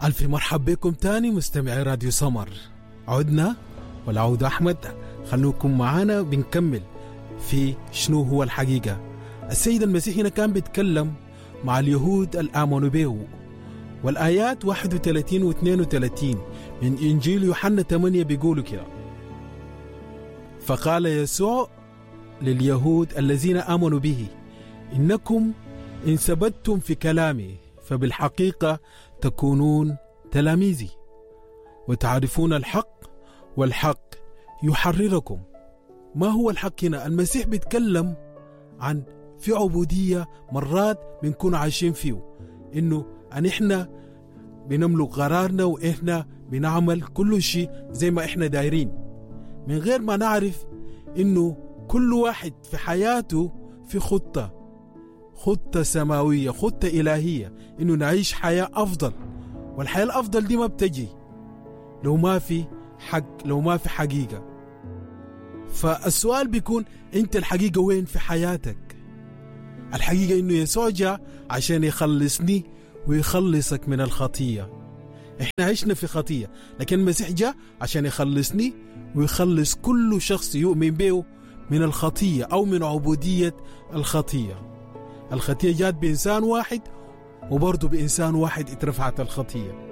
ألف مرحب بكم تاني مستمعي راديو سمر. عدنا والعودة أحمد، خلوكم معانا بنكمل في شنو هو الحقيقة. السيد المسيح هنا كان بيتكلم مع اليهود الآمنوا به، والآيات 31 و 32 من إنجيل يوحنا 8 بيقولوا كده: فقال يسوع لليهود الذين آمنوا به: إنكم إن ثبتتم في كلامي فبالحقيقة تكونون تلاميذي، وتعرفون الحق والحق يحرركم. ما هو الحق هنا؟ المسيح بيتكلم عن في عبودية مرات بنكون عايشين فيه، إنه أن إحنا بنملك قرارنا وإحنا بنعمل كل شيء زي ما إحنا دايرين، من غير ما نعرف إنه كل واحد في حياته في خطة، خطة سماوية، خطة إلهية، إنه نعيش حياة أفضل. والحياة الأفضل دي ما بتجي لو ما في حق، لو ما في حقيقة. فالسؤال بيكون: أنت الحقيقة وين في حياتك؟ الحقيقة إنه يسوع جاء عشان يخلصني ويخلصك من الخطية. إحنا عشنا في خطية، لكن المسيح جاء عشان يخلصني ويخلص كل شخص يؤمن به من الخطية أو من عبودية الخطية. الخطية جات بإنسان واحد، وبرضه بإنسان واحد اترفعت الخطية.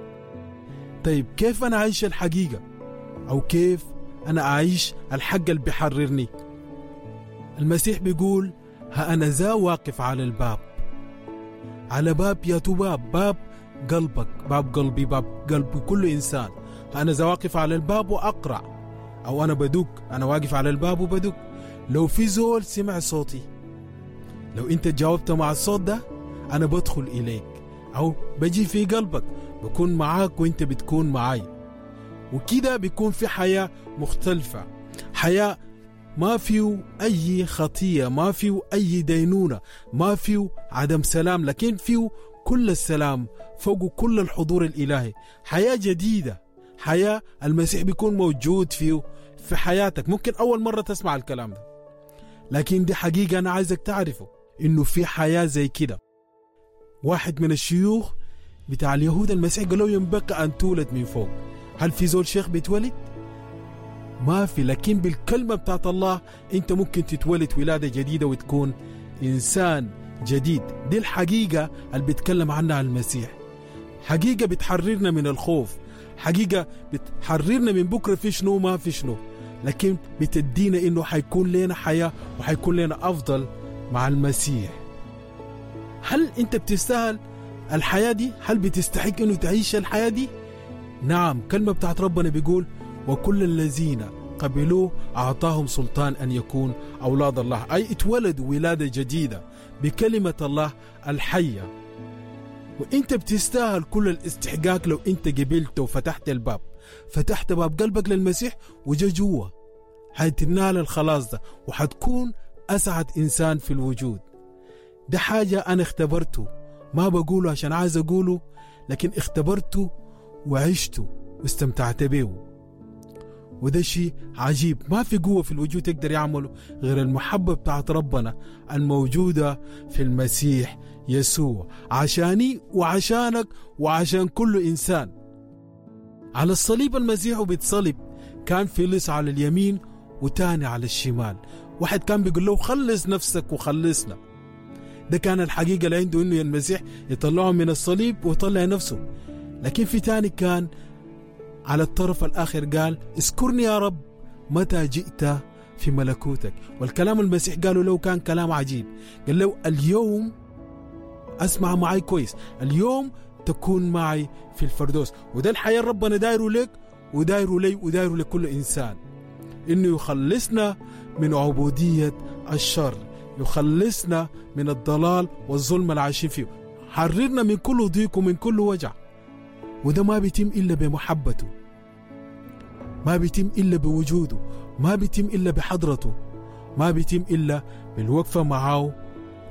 طيب كيف أنا أعيش الحقيقة؟ أو كيف أنا أعيش الحق اللي بيحررني؟ المسيح بيقول: ها أنا ذا واقف على الباب. على باب يا باب، باب قلبك، باب قلبي، باب قلب كل إنسان. ها أنا ذا واقف على الباب وأقرع، أو أنا بدق، أنا واقف على الباب وبدق. لو في زول سمع صوتي، لو أنت جاوبت مع الصوت ده، أنا بدخل إليك أو بجي في قلبك، بكون معاك وإنت بتكون معاي. وكده بيكون في حياة مختلفة، حياة ما فيه أي خطية، ما فيه أي دينونة، ما فيه عدم سلام، لكن فيه كل السلام فوق كل الحضور الإلهي. حياة جديدة، حياة المسيح بيكون موجود فيه في حياتك. ممكن أول مرة تسمع الكلام ده، لكن دي حقيقة أنا عايزك تعرفه، إنه في حياة زي كده. واحد من الشيوخ بتاع اليهود المسيح قال له: ينبغي أن تولد من فوق. هل في زول شيخ بيتولد؟ ما في. لكن بالكلمة بتاعت الله أنت ممكن تتولد ولادة جديدة وتكون إنسان جديد. دي الحقيقة اللي بيتكلم عنها المسيح. حقيقة بتحررنا من الخوف، حقيقة بتحررنا من بكرة في شنو ما في شنو، لكن بتدينا إنه حيكون لنا حياة وحيكون لنا أفضل مع المسيح. هل أنت بتستاهل الحياة دي؟ هل بتستحق إنه تعيش الحياة دي؟ نعم. كلمة بتاعت ربنا بيقول: وكل الذين قبلوه أعطاهم سلطان أن يكون أولاد الله، أي اتولدوا ولادة جديدة بكلمة الله الحية. وإنت بتستاهل كل الاستحقاق لو إنت قبلت وفتحت الباب، فتحت باب قلبك للمسيح وجا جوا، حتنال الخلاص ده وحتكون أسعد إنسان في الوجود. ده حاجة أنا اختبرته، ما بقوله عشان عايز أقوله، لكن اختبرته وعشته واستمتعت به. وده شيء عجيب، ما في قوة في الوجود يقدر يعمله غير المحبة بتاعت ربنا الموجودة في المسيح يسوع، عشاني وعشانك وعشان كل إنسان. على الصليب المسيح وبيتصلب كان في لص على اليمين وتاني على الشمال، واحد كان بيقول له خلص نفسك وخلصنا. ده كان الحقيقة اللي عنده، إنه المسيح يطلعه من الصليب ويطلع نفسه. لكن في تاني كان على الطرف الآخر قال اذكرني يا رب متى جئت في ملكوتك. والكلام المسيح قاله له كان كلام عجيب، قال له اليوم أسمع معي كويس، اليوم تكون معي في الفردوس. وده الحياة ربنا دايره لك ودايره لي ودايره لكل إنسان، إنه يخلصنا من عبودية الشر، يخلصنا من الضلال والظلم اللي عايشين فيه، حررنا من كل ضيق ومن كل وجع. وده ما بيتم إلا بمحبته، ما بيتم إلا بوجوده، ما بيتم إلا بحضرته، ما بيتم إلا بالوقفة معه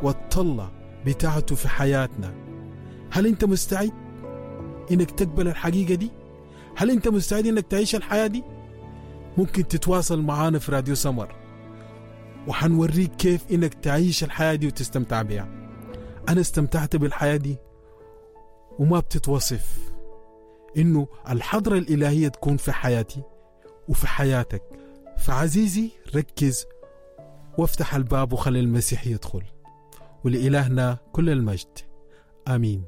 والطلة بتاعته في حياتنا. هل أنت مستعد إنك تقبل الحقيقة دي؟ هل أنت مستعد إنك تعيش الحياة دي؟ ممكن تتواصل معانا في راديو سمر وحنوريك كيف إنك تعيش الحياة دي وتستمتع بها. أنا استمتعت بالحياة دي وما بتتوصف. إنه الحضرة الإلهية تكون في حياتي وفي حياتك. فعزيزي ركز وافتح الباب وخلي المسيح يدخل، ولإلهنا كل المجد. آمين.